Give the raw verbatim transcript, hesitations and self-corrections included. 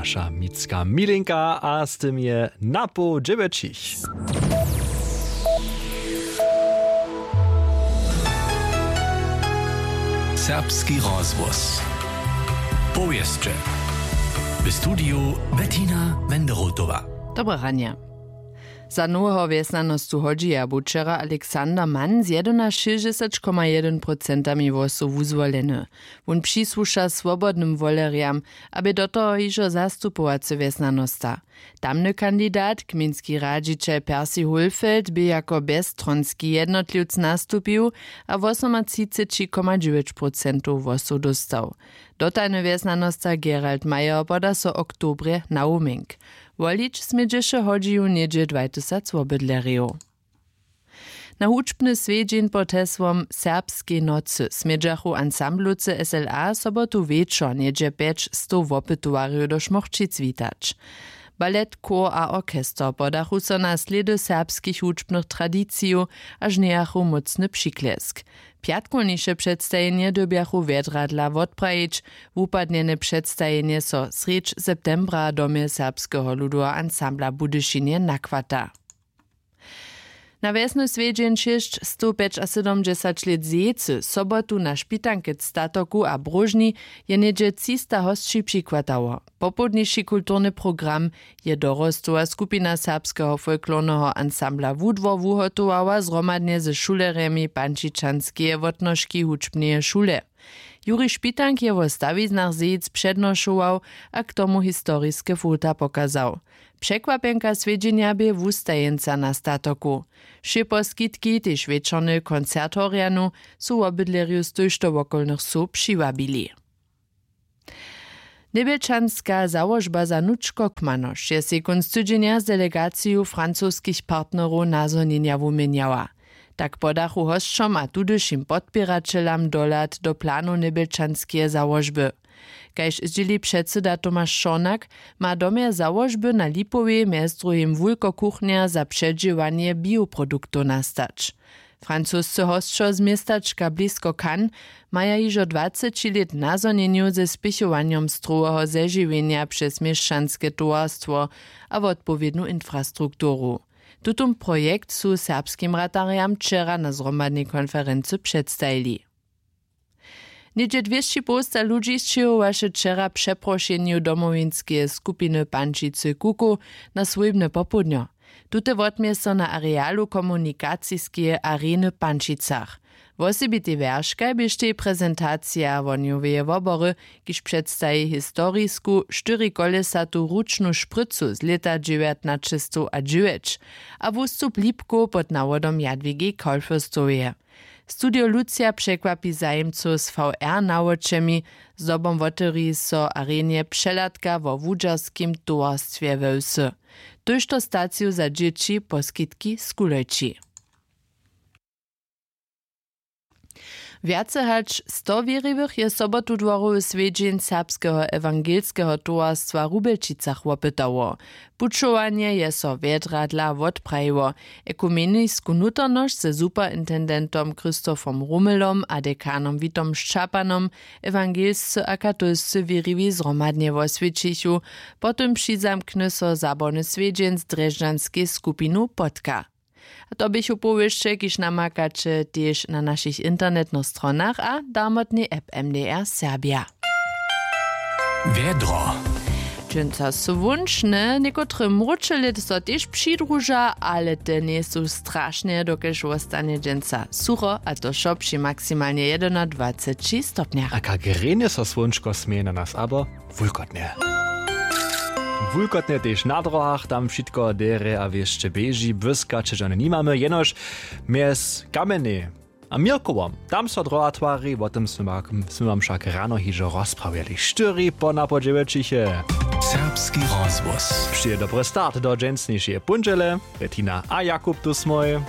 Wša micka milinka a z tym je na poł dźewjećich. Serbski rozhłos. Powěsće. W studiju Bettina Wenderotowa. Dobre ranje. Za noweho wjesnjanostu hodźija bu wčera Alexander Mann z jedynašěsćdźesat koma jedyn procentami hłosow wuzwoleny. Wón přisłuša swobodnym wolerjam, a bě do toho hižo zastupowacy wjesnjanosta. Tamny kandidat, gmejnski radźićel Percy Hulfeld, bě jako bjezstronski jednotliwc nastupił a wosomatřiceći koma dźewjeć procentow hłosow dóstał. Dotajny wjesnjanosta Gerald Mayer poda so w oktobrje na wuměnk. Wolić smědźeše w hodźiju něhdźe dwajtysac wobydlerjow. Na hudźbny swjedźeń pod hesłom Serbskej nocy smědźachu ansamblowcy S L A sobotu wječor něhdźe pjećstow wopytowarjow do Šmórćic witać. Balet, chór a orchester podachu so na slědy serbskich hudźbnych tradicijow a žnjejachu mócny přiklesk. Pjatkowniše předstajenje dyrbjachu wjedradla wotprajić. Wupadnjene předstajenje so srjedź septembra w domje Serbskeho ludoweho ansambla w Budyšinje nachwata. Na wjesny swjedźeń šěsćstowpjećasydomdźesać lět zejcy sobotu na špitankec statoku a bróžni je něhdźe třista hosći přichwatało. Popołdniši kulturny program je dorostowa skupina serbskeho folklorneho ansambla Wudwor wuhotowała zhromadnje ze šulerjemi pančičanskeje wotnožki hudźbneje šule. Juri Špitank je wo stawiznach zejc přednošował a k tomu historiske fota pokazał. Překwapjenka swjedźenja bě wustajeńca na statoku. Wšě poskitki, tež wječorny koncert w Horjanu, su wobydlerjow z tójšto wokolnych wsow přiwabili. Njebjelčanska załožba za nučkokmanoš je sej kónc tydźenja z delegaciju francoskich partnerow nazhonjenja wuměnjała. Tak podachu hosćom a tudyšim podpěraćelam dohlad do planow njebjelčanskeje załožby. Kaž zdźěli předsyda Tomaš Šornak, ma w domje załožby na Lipowej mjez druhim wulkokuchnjer za předźěłanje bioproduktow nastać. Francuscy hosćo z městačka blisko Cannes maja hižo dwaceći lět nazhonjenjow ze spěchowanjom stroweho zežiwjenja přez měšćanske towarstwo a wotpowědnu infrastrukturu. Tutón projekt su serbskim ratarjam wčera na zhromadnej konferency předstajili. Něhdźe dwěsći połsta ludźi sćěhowaše wčera přeprošenju domowinskeje skupiny Pančicy Kukow na swójbne popołdnjo. Tute wotměje so na arealu komunikaciskeje areny w Pančicach. Wosebitej wjerškaj běštej prezentacija wohnjoweje wobory, kiž předstaji historisku štyrikolesatu ručnu šprycu z lěta dźewjatnaćestowdźewjeć a wustup lipkow pod nawodom Jadwigi Kolfürstoweje. Studio Lucija překwapi zajimcow z V R nawočemi. Zdobom wotewri so w arenje přehladka wo wudźerskim towarstwje we wsy. Tójšto staciju za dźěći poskitki z kulejći. Wjace hač sto wěriwych je sobotu dworowy swjedźeń serbskeho ewangelskeho towarstwa w Rubjelčicach wopytało. Pućowanje je so wjedra dla wotprajiło. Ekumenisku nutarnosć ze superintendentom Christophom Rumelom a dekanom Witom Šćapanom ewangelscy a katolscy wěriwi zhromadnje woswjećichu. Potom přizamkny so zabawny swjedźeń z drježdźanskej skupinu Potka. A to běchu powěsće, kiž namakaće tež na našich internetnych stronach a darmotnej app M D R Serbia. Wjedro. Dźensa słónčne, někotre mróčele so tež přidruža, ale te njejsu strašne, dokelž wostanje dźensa sucho, a to wšo při maksimalnje jedynadwaceći stopnjach. A kak rjenje so słónčko směje na nas, abo wulkotnje. Wulkotnje tež na drohach, tam wšitko derje a wěsće běži, błyska ćežane nimamy, jenož mjez Kamjenjej a Měrkowom, tam so droha twari, wo tym smy wa-, smy wam wšak rano hižo rozprawjeli. Štyri po napoł dźewjećich je. Serbski rozhłos. Přije dobry start do dźensnišeje póndźele. Bettina a Jakub tu smój.